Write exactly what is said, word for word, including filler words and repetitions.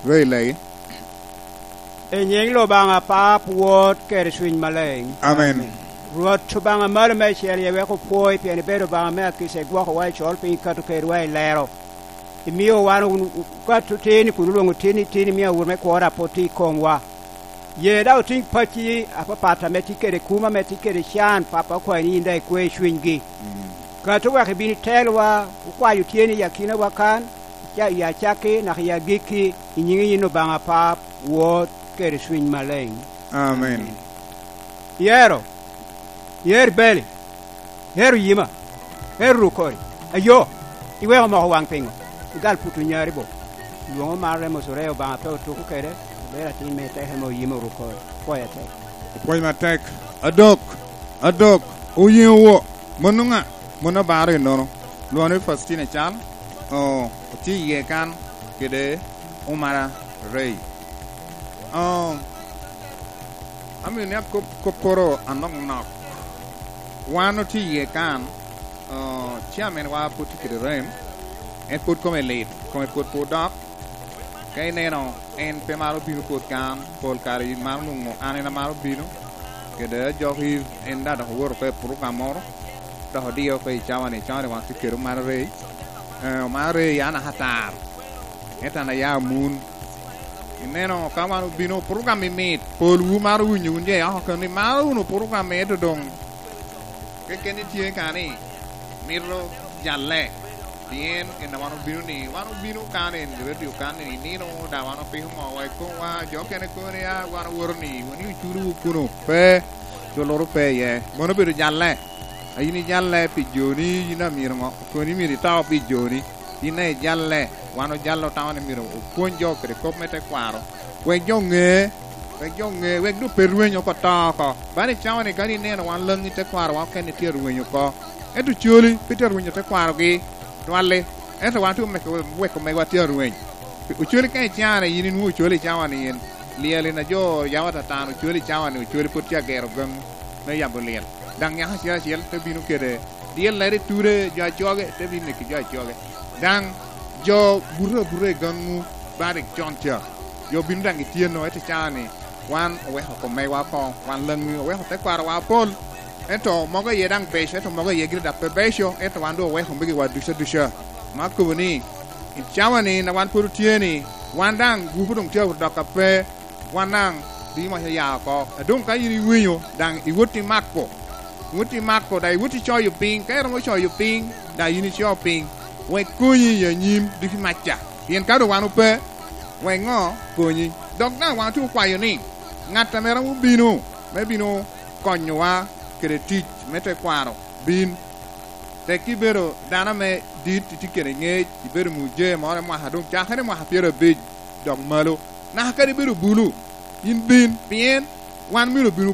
Rei legi. E nying Lubanga Pap, Wod, kede Cwiny Maleng. Amen. Rwot Lubanga malo me cel ye wek opwoi pien ibedo Lubanga me akisa igwokowa i col piny ikato kedwa i lero. Imiyo wan kato tini kun ulwongo tini tini miyo awur me kwora po tye i komwa. Ye da oting paci apapat ame tye kede kuma ame tye kede can papa okwayo ni in da ikwe cwinygi. Kato wek ibin itelwa ukwayo tyeni i akinawa kan i acakki naka i agikki i nyingi in Lubanga Pap, Wod, kede Cwiny Maleng. Amen. Yero, yer beli, yer oyima, yer rukori, ayo, iweko moko wang pingo, igal putu nyari bo. Luongo mar remo sore Obanga pe otuku kede, obedo atin me teke me oyima orukori. Pwoya tek. Pwoy matek. Adok, adok, oyingo wo. Mono nga, mono baro inono. Luono Faustina cal, o, tye iye kan kede Omara Rei. O, amino ni akop koporo anok nok. Wan tye iye kan, o, chairman wa pud tye kede rem, en pud kome lit, kome pud pud dok. Ka ineno en pe maro bino pud kan, pol kare maro nongo an en amaro bino. Kede ajoki en da dok owoto pe program moro. Dok odiyo pe i cawa ni, cawa ni wan tye kede Omara Rei. Eh, Omara Rei an ahatar. Ento an aya mun. Ineno ka wan obino program i mit, pol wu maro winyo wun je oko keni maro wunu program ento dong keken tye kani mito jalle. Pien ena wan obino ni, wan obino kan en radio kan ni nino da wan opiko ngo wa ikomwa jo kene kone ya wan owoto ni wani uculu wu kuno pe joloro pe ye mono bedo jalle ayini jalle pi joni yin amiro ngo koni myero ito pi joni in e jalle wan ojallo tamo ni myero opwony jo kede kop me tekwaro wek jo ng'e wek jo ng'e wek do pe rwenyo ko to ko bani cawa ni kani ineno wan langi tekwaro wan kene tye rwenyo ko ento coli pe tye rwenyo tekwarogi twalli ento wan tye weko megwa tye rweny ocoli ka icane in inwo ocoli i cawa ni in lyel na jo yawa tatano ocoli i cawa ni ocoli pud tye agero gangu me yabo lyel dang nyaka acel acel te bino kede dyel lere ture jo acoge te bino ki jo acoge dang jo buto abuta i gangu bari con ca jo bino dang gityeno ete cawa ni wan oweko komegwa ko wan langi oweko tekwaro wa pol ento mogo iye dang beco ento mogo iye gire dak pe beco ento wan do oweko migi wa duca duca ma kobo ni i cawa ni na wan pud otye ni wan dang gupu dong tye dok ka pe wan dang di ma ya ko adong ka in iwinyo dang iwoti mako iwoti mako da iwoti coyo piny ka iromo coyo piny da in ico piny wek konyi i anyim ducu maca pien ka do wan ope wek ngo konyi dok dang wan tye okwayo ni ng'at ame romo bino me bino konyowa kede tic me tekwaro bin tek ibedo dano me dit itye kede ngec ibedo muje moro mwaka dong cakere mwaka pyero abic dok malo naka kadi ibedo bulu in bin pien wan myero obino